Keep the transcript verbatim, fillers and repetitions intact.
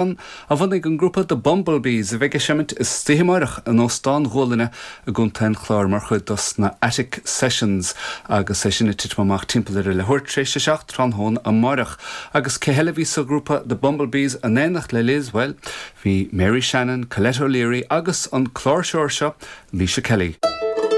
A bhunaigh an grúpa The Bumblebees a bheidh ag seimint istoíche amárach in Óstán Ghualainne i gContae an Chláir mar chuid dos na Attic Sessions agus é sin ag titim amach timpeall ar a leathuair tar éis a seacht tráthnóna amárach. Agus cé heile bhí sa ghrúpa The Bumblebees in éineacht le Liz well, bhí Mary Shannon, Colette O'Leary agus an cláirseoir seo Lisa Kelly.